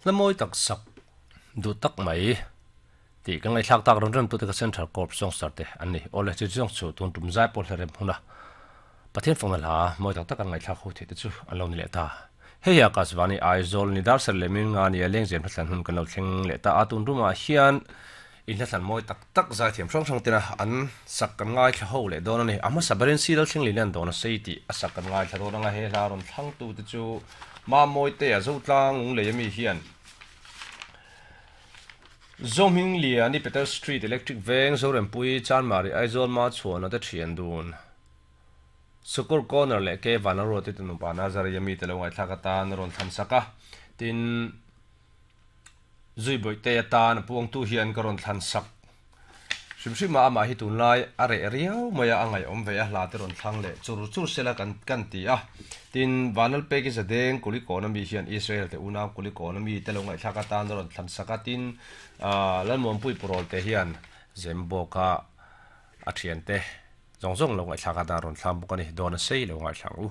Hla mawi tak sak duh tak mai tih kan ngaihthlak tak rawn rem tute kha Central Corps Songster te an ni. Awle chu zawng chu tun tum zai pawh hla rem huna Pathian fakna hla mawi tak tak an ngaihthlak ho theih te chu an lo ni leh ta. Hei hi Akashvani Aizawl ni dar serh leh min nga nia lengzem hla thlan hun kan lo thleng leh ta a, tun rumah hian in hla thlan mawi tak tak zaithiam hrang hrang tena an sak kan ngaithla ho leh dawn a ni. A hmasa berin Sidal thleng leh lian dawn a sei tih a sak kan ngaithla dawn anga he hla rawn thlangtu te chu Mamawite a Zotlang Lunglei ami hian Zohming Liani Peter Street Electric Veng Zorempui Chanmari Aizawl Machhuana te thian dun Sukkur Corner leh Ke Vanlalruati te nupa Nazari ami te lo ngaihthlak atan a rawn thlan sak a, tin Zuibawihte atan a puangtu hian ka rawn thlan sak hrim hrim a, amah hi tunlai a reh riau mai a, a ngaihawm ve a, hla te rawn thlang leh chur chur sela kan kan ti a. Tin, Vanlalpeki Zadeng Kulikawn ami hian Israel te unau Kulikawn ami te lo ngaihthlak atan a rawn thlan sak a, tin, Lalmuanpui Purawl te hian Zembawka a thiante zawng zawng lo ngaihthlak atan a rawn thlang bawk a ni, dawn a sei lo ngaihthlak u.